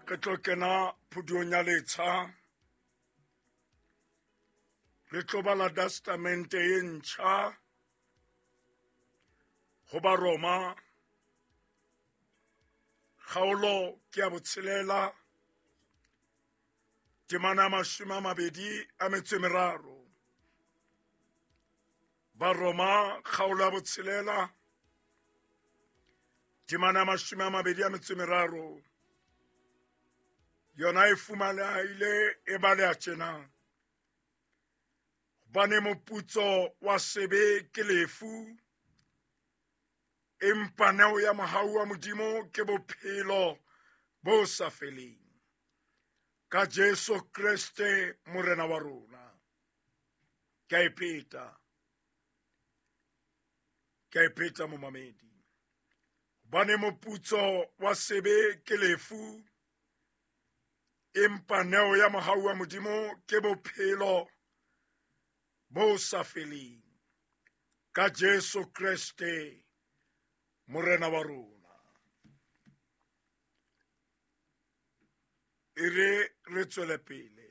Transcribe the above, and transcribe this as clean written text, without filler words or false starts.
Re tlo kena phuduong ya letsha. Re tlo bala testamente e ntjha ho Baroma kgaolo ke ya botshelela temana ya 23. Baroma kgaolo ya botshelela temana ya 23 yona e fumanehile e baleha tjena. Hobane moputso wa sebe ke lefu, empa neo ya mohau wa Modimo ke bophelo bo sa feleng ka Jesu Kreste Morena wa rona. Ke a e pheta, ke a e pheta momamedi. Hobane moputso wa sebe ke lefu, empa neo ya mohau wa Modimo ke bophelo bo sa feleng ka Jesu Kreste Morena wa rona. E re re tswele pele.